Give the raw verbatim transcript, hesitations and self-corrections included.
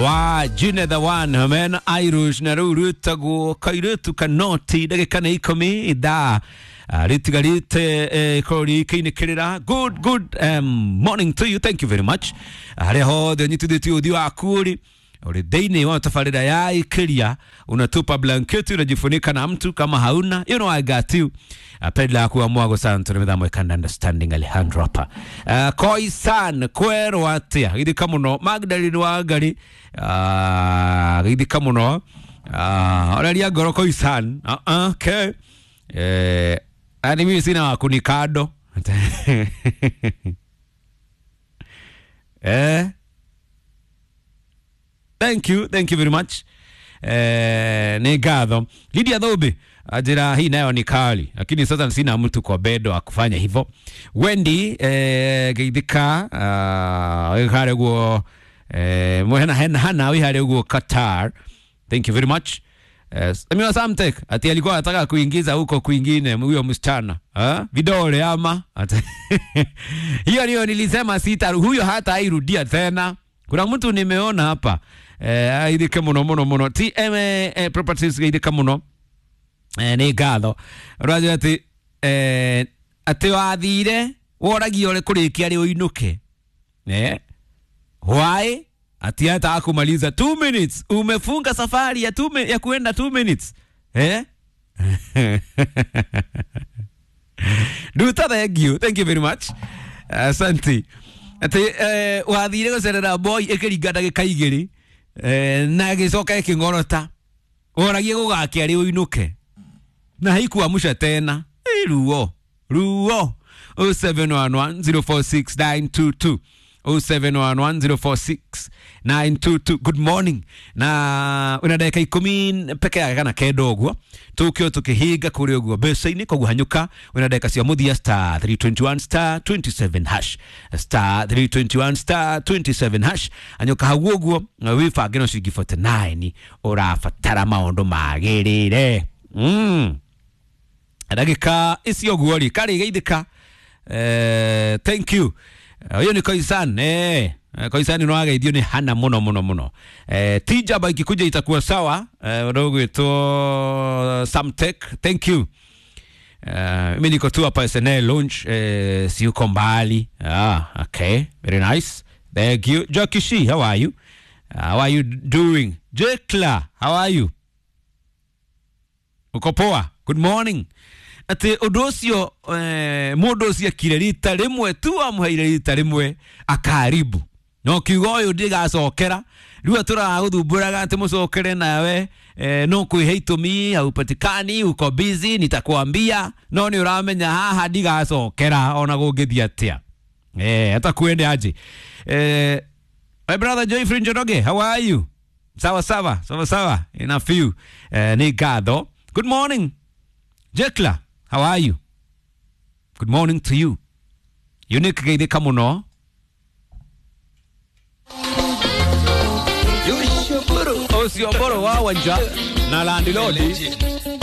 Wa Junior the one man Irish na rĩu rwĩtagwo kairĩtu kanoti ndagĩka nĩ ikũmi ithaa rĩtigarĩte ikorwo rĩkĩinĩkĩrĩra. Good good um, morning to you, thank you very much. Harĩa hothe ũnyitithĩtie ũthiũ waku rĩ uri thĩinĩ wa tabarĩra ya ikiria, unatupa blanketi unajifunika na mtu kama hauna, you know I got you. Apedla kuwa mwago sana tunamithamwe kanda understanding Alejandro hapa. Uh, Koisan kwerwo atia githika muno Magdalene wa Ngari, uh, githika muno uh, oraria ngoro Koisan. uh -uh, okay eh ani mimi sina wakunikado eh Thank you, thank you very much. Eh, ni ngatho. Lydia Thumbi ajira hii nayo ni kali, lakini sasa sina mtu kwa bedo akufanya hivyo. Wendy eh geithika uh hare guo eh mwena hena hana wi hare guo Qatar. Thank you very much. Eh, mimi Samtek ati alikuwa anataka kuingiza huko kwingine huyo msichana. Ah, vidole ama hiyo ndio nilisema sita huyo hata airudia tena. Kuna mtu nimeona hapa eh aithike muno muno muno T M A Properties aithike muno eh ni ngatho rajo ati eh ati wathire woragia uri kurikia ri uinuke eh why ati hata kumaliza two minutes umefunga safari ya two ya kuenda two minutes eh Duta, thank you, thank you very much, asante. Ati eh wathire gucerera boy ikiringa ndagika igiri eh na gicoka ikingorota woragie gugakia ri uinuke na haikuamusha tena. Ruo ruo oh seven one one zero four six nine two two oh seven one one zero four six nine two two. Good morning. Na una dakika ikumi peke yake kana kenda ũguo tukio tukihinga kuri ũguo mbeca-inĩ koguo hanyũka una dakika cia mũthia star three twenty-one star twenty-seven hash star three twenty-one star twenty-seven hash hanyũka hau ũguo wĩbange no ciringi forty-nine ũrabatara maũndũ magĩrĩre. Mm ndagĩka icio ũguo rĩ karĩ geithĩka. Eh, thank you. Huyo ni Koisan eh Koisan no ageithio ni hana muno muno muno. Eh tijaba ikikuja itakuwa sawa. Eh ndogwitwo Samtek, thank you. Eh mimi niko tu hapa S N L lounge, eh si uko mbali. Ah, okay, very nice. Thank you. Jokishi, how are you? How are you doing? Jekla, how are you? Uko poa? Good morning. Ati undu ucio eh, mundu ucio akire rita rimwe tu amuheire rita rimwe akaribu no kiugo uyu ndigacokera riu aturaguthumburaga ati mucokere nawe eh, no kwihe itumi haupatikani uko busy nitakwambia no ni uramenya haha ndigacokera ona gungithia atia eh hata kuende aje. Eh, my brother Joyfrey Njoroge, how are you? Sawa sawa sawa sawa in a few. Eh, ni ngatho. Good morning Jekla, how are you? Good morning to you. Unique geithika muno. Ucio mboro wa wanja na landlord.